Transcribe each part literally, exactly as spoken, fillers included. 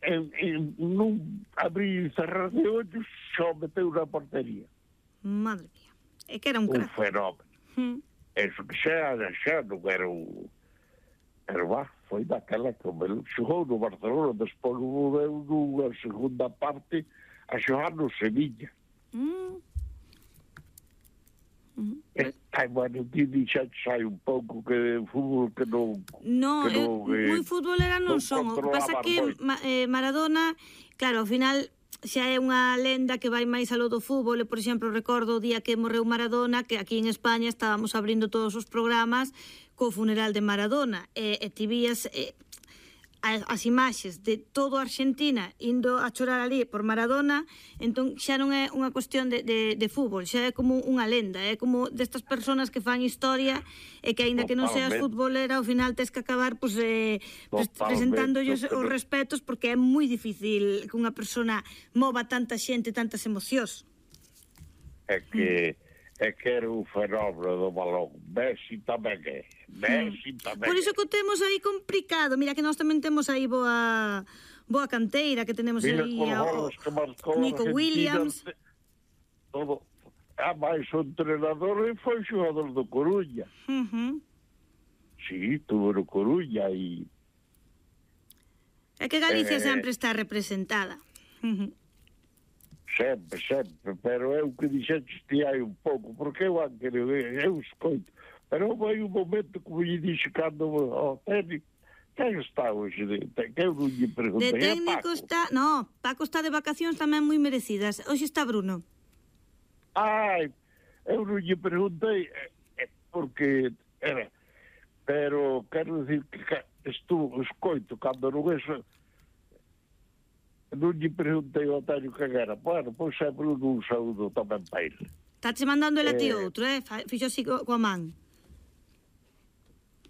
en, en, nun abrir e cerrar de ollos, só meteu na portería. Madre mía. É que era un crack. Un fenómeno. Mm. Eso que xa, xa non era un... Pero va, foi daquela que me xogou no Barcelona, despois volveu nunha segunda parte a xogar no Sevilla. Mm. Mm. Eh, ai, bueno, ti dixaxe hai un pouco que fútbol que non... No, que non eh, moi futbolera non non son. O que pasa controlaban que moito. ma, eh, Maradona, claro, ao final xa é unha lenda que vai máis alo do fútbol. E, por exemplo, recordo o día que morreu Maradona, que aquí en España estábamos abrindo todos os programas co funeral de Maradona. E, e ti vías... Eh, as imaxes de todo a Argentina indo a chorar ali por Maradona, entón xa non é unha cuestión de, de, de fútbol, xa é como unha lenda, é como destas persoas que fan historia e que aínda que non seas futbolera, ao final tes que acabar pues, eh, presentándolle os respetos, porque é moi difícil que unha persona mova tanta xente, tantas emocións. É que... é que era un fenómeno do balón. Messi tamén é. Messi tamén é. Por iso que o temos aí complicado. Mira que nós tamén temos aí boa boa canteira, que tenemos Mira, aí o Nico Williams. Todo. A máis o entrenador foi xogador do Coruña. Uh-huh. Sí, tuvo no Coruña e... É que Galicia eh, sempre está representada. Uh-huh. Sempre, sempre, pero eu que dixetes ti hai un pouco, porque eu anque eu escoito, pero hai un momento como lle dixe cando ao técnico, quen está hoxe? Que eu non lle preguntei. De técnico está, no, Paco está de vacacións tamén moi merecidas. Hoxe está Bruno. Ai, eu non lle preguntei, porque era, pero quero dicir que estuvo, escoito, cando non é non lle preguntei ao Antonio que era. Bueno, pois é Bruno, un saúdo tamén para ele. Está che mandando el a ti outro, eh? Fixo así coa man.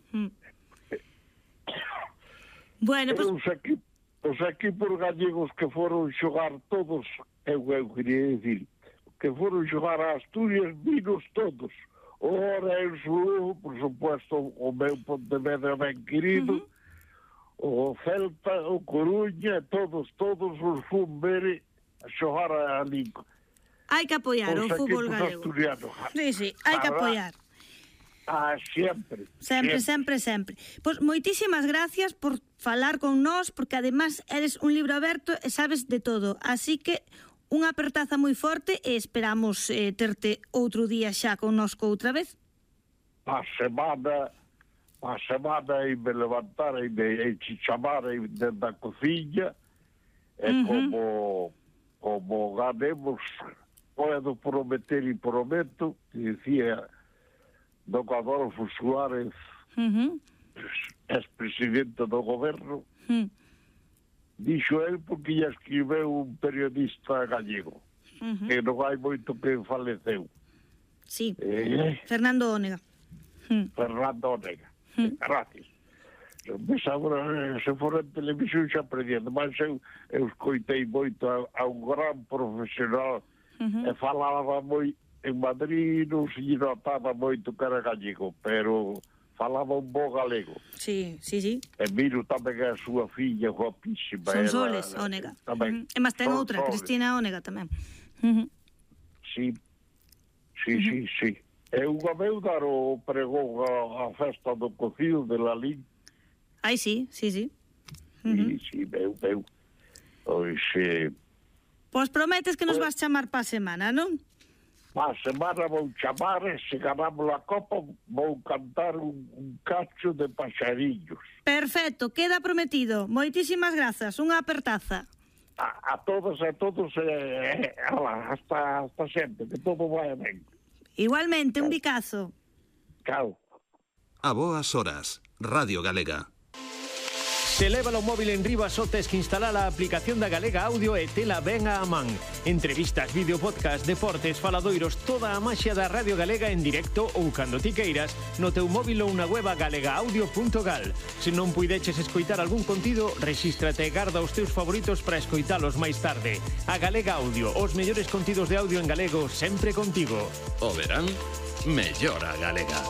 Hmm. Bueno, pois... Os, equip, os equipos gallegos que foron xogar todos, eu, eu quería dicir, que foron xogar a Asturias, vinos todos. O Orense, por supuesto, o meu Pontevedra ben querido, uh-huh. O Celta, o Coruña, todos, todos os fun ver a xogar a Linco. Hai que apoiar o fútbol galego. Sí, sí, hai que apoiar. Ah, sempre. Sempre, sempre, sempre. Pois moitísimas gracias por falar con nós, porque además eres un libro aberto e sabes de todo. Así que unha apertaza moi forte e esperamos eh, terte outro día xa connosco outra vez. A semana... a semana e me levantar e me chamar dentro da cociña e uh-huh. como como ganemos podo prometer e prometo, que decía don Adolfo Suárez, uh-huh. ex-presidente do goberno, uh-huh. dixo el porque lle escribeu un periodista gallego, uh-huh. que non hai moito que faleceu. Sí, eh, Fernando Ónega. Uh-huh. Fernando Ónega. Gracias. Mas agora, se for en televisión xa aprendendo, mas eu, eu escoitei moito a, a un gran profesional uh-huh. e falaba moi en Madrid, non se notaba moito que era gallego, pero falaba un bo galego. Sí, sí, sí. E miro tamén a súa filla guapísima. Son Soles Ónega. Uh-huh. E máis ten outra, Soles. Cristina Ónega tamén. Uh-huh. Sí, sí, uh-huh. sí, sí. É unha vez dar o pregón a, a festa do cocido de la Lin. Ai, sí, sí, sí. Uh-huh. Sí, sí, veu, veu. Pois, eh... Pois prometes que nos vas chamar pa semana, non? Pa semana vou chamar e se ganamos a copa vou cantar un, un cacho de paxarillos. Perfecto, queda prometido. Moitísimas grazas, unha apertaza. A, a todos e a todos, eh, ala, hasta, hasta sempre, que todo vai ben. Igualmente, un bicazo. Chao. A boas horas, Radio Galega. Se leva o móvil en riba só tes que instalar a aplicación da Galega Audio e tela ben a man. Entrevistas, vídeo, podcast, deportes, faladoiros, toda a maxia da Radio Galega en directo ou cando ti queiras no teu móvil ou na web galega audio punto gal. Se non puideches escoitar algún contido, rexístrate e garda os teus favoritos para escoitalos máis tarde. A Galega Audio, os mellores contidos de audio en galego sempre contigo. O verán, mellora Galega.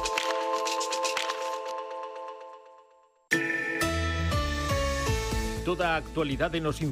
Toda a actualidade nos